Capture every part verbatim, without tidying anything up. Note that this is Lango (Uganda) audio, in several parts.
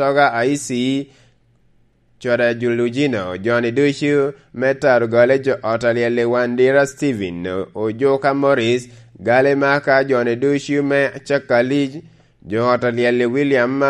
Toga Aisi, Cwada Julugino, joni ducu me Tarogale, jo ot a lyel i Wandira Steven, Ojuka Morris, Gali Maka, joni ducu me Cakali, jo ot a lyel i William,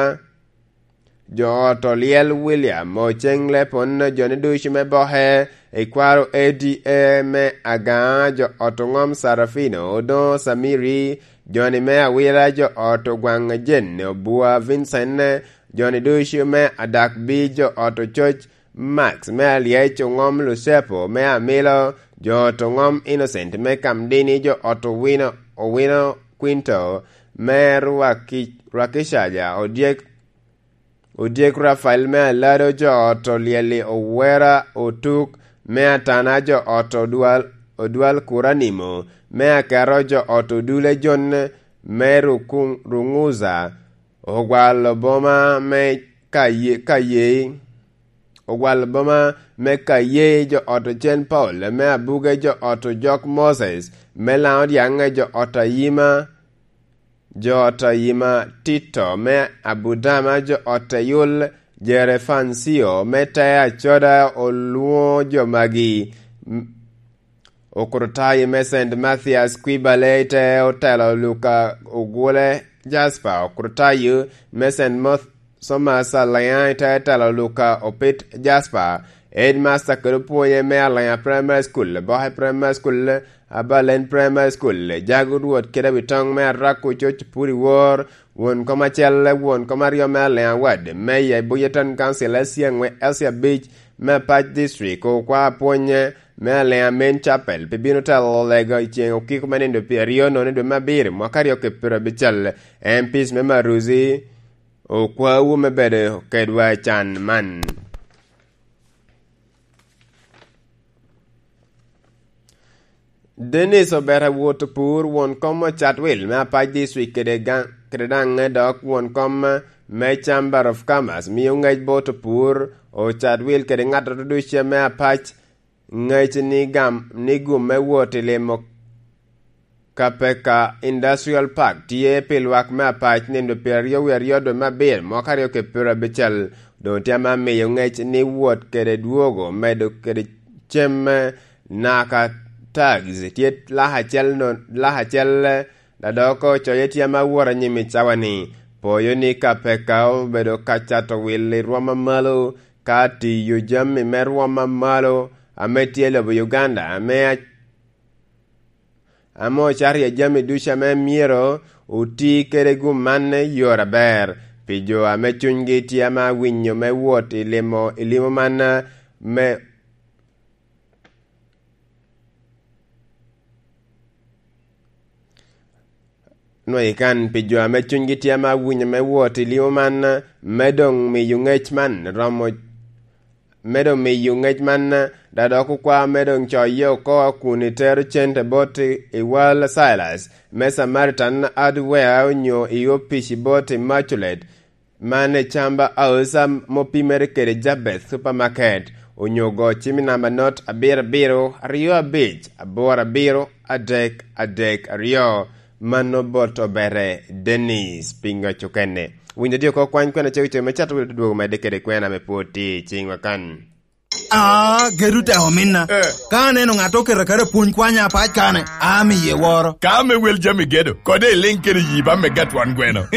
jo ot olyel William, Oceŋ Lepon, joni ducu me Boke, i kwaro A D A me Agaŋa, jo ot oŋom Sarafino, Odoŋo Samiri, joni me Awila, jo ot Ogwaŋ Jen, Obua Vincent, joni ducu me Adakbi, jo ot Ococ Max me Alyec, oŋom Lucepo me Amilo, jo ot oŋom Innocent me Kamdini, jo ot Owino, Owino Quinto me Rwaki-, Rwakicaja, Odyek, Odyek Rafael me Alado, jo ot Olyeli Owera Otuk me Atana, jo ot Odwal, Odwal Kuranimo me Akero, jo ot Odule Jon me Rukuŋ-, Ruŋuza, Ogwal Oboma me Kaye-, Kayei, Ogwal Oboma me Kayei, jo ot Ocen Paul me Abuge, jo ot Ojok Moses me Laŋo Dyaŋ, jo ot Ayima, jo ot Ayima Tito me Abudama, jo ot Eyul Jerefancio me Te Acoda, olwoŋo jo magi. M-, Okrutayo me Saint Mathias Kwibale te otelo Luka Ogule Jasper, Okrutayo me Saint Moth-, Thomas Alliance te otelo Luka Opit Jasper, Headmaster kede opwonye me Alliance Primary School, Boke Primary School, Abalen Primary School, Jago Rwot kede Abitoŋ me Arako Coc Puri Wor, won kom acel, won kom aryo me Alliance Ward, Mayor i Buja Town Council, Asia Ŋwe-, Asia Beach me Apac District, okwa apwonye me Alliance Main Chapel, pi bino telo lega i ceŋ okiko me nindo pyeraryo nono i dwe me abiro, mwaka aryo kede pyerabicel, M Ps me Maruzi, okwawu me bedo kedwa i can man. Dennis Obeta Wot Opur, won kom Ocatwil me Apac District kede ga-, kede daŋ dok won kom me Chamber of Commerce, mio ŋec bot Opur, Ocatwil kede ŋat ducu me Apac ŋec ni gam, ni gum me wot i limo Kapeka Industrial Park tye pi lwak me Apac nino pyeraryo wie aryo dwe me abiro mwaka aryo kede pyerabicel. Doŋ tye ame miyo ŋec ni wot kede dwogo medo kede cem me naka tags tye lak acel no-, lak acel, dok ocoye tye ame awot anyim i cawa-ni. Poyo ni Kapeka obedo ka cato wil i rwom amalo, ka tiyo jami me rwom amalo ame tye i lobo Uganda, ame a-, ame ocato iye jami ducu ame myero oti kede gum man i yore aber. Pi jo ame cunygi tye ame awinyo me wot i limo, i limo man, me nwoŋo ikan pi jo ame cunygi tye ame awinyo me wot i limo man, me doŋ miyo ŋec man romo, me doŋ miyo ŋec man, da dok okwa me doŋ coye oko kun itero cente bot i, i wal Silas me Samaritan Hardware onyo i opic bot Immaculate, man i Chamba House, ame opimere kede Jabeth Supermarket, onyo go cim i namba not abiro abiro aryo abic aboro abiro adek adek aryo. Mano bot Obere Dennis, pingo cukene. Winyo dye oko kwany kwena cego cego me cato welo dwogo medde kede kwena me pwod tye i ciŋwa kan. Ah, gedu te ominna. Eh. Ka aneno ŋat oketo aketa pwony kwanya apac kane, amiye woro. Ka ame wel jami gedo, kode iliŋ kede yi ba me gatwan gweno.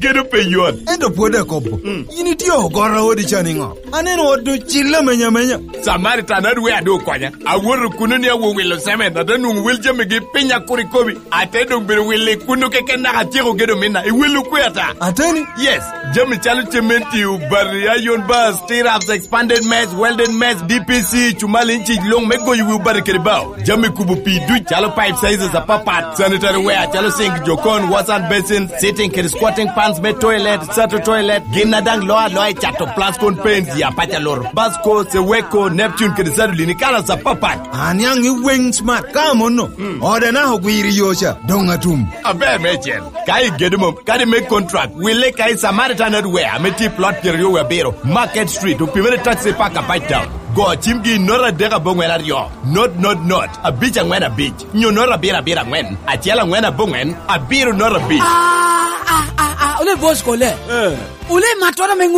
Gedo pe yot. Ento pwod akobo. Mm. In itye ogoro odi ca niŋo? Aneno ot ocille amenya amenya. Samaritan adwe adu okonya. Awoto kuno ni awo wilo semen, ate nwoŋo wel jamigi piny akur ikobi. Ate doŋ bedo wille kuno keken naka atyeko gedo minna. Iwillo kwe ata? Ateni? Yes. Jami calo cementi, obati, iron bars, T-Raps, expanded mess, welded mess, D P C, cumal inci luŋ me goyo wi obati kede bao. Jami kubo pii duc calo pipe sizes apapat, sanitary ware calo sink, jokon, wash hand basin, sitting kede squatting pans me toilet, sato toilet, gin a daŋ loo aloa i cato Plascon paints, ya paca loro, Basco, Seweko, Neptune kede Sadolin i kalas apapat. Aniaŋ i weng smart ka amono. Mm. Ode naka ogwiro i yo ca, doŋ atum. Aber meicel. Ka igedo mom, kadi me contract, wille ka i Samaritan Hardware ame tye i plot pyeraryo wie abiro, Market Street, opimere taxi park apac town. Go cimgi i note adek aboŋwen aryo, not, not, not, abic aŋwen abic, nyo not abiro abiro aŋwen, acel aŋwen aboŋwen, abiro not abic. Ah, ah, ah, ah, ole boss kole. Eh. Ole matwara me ŋut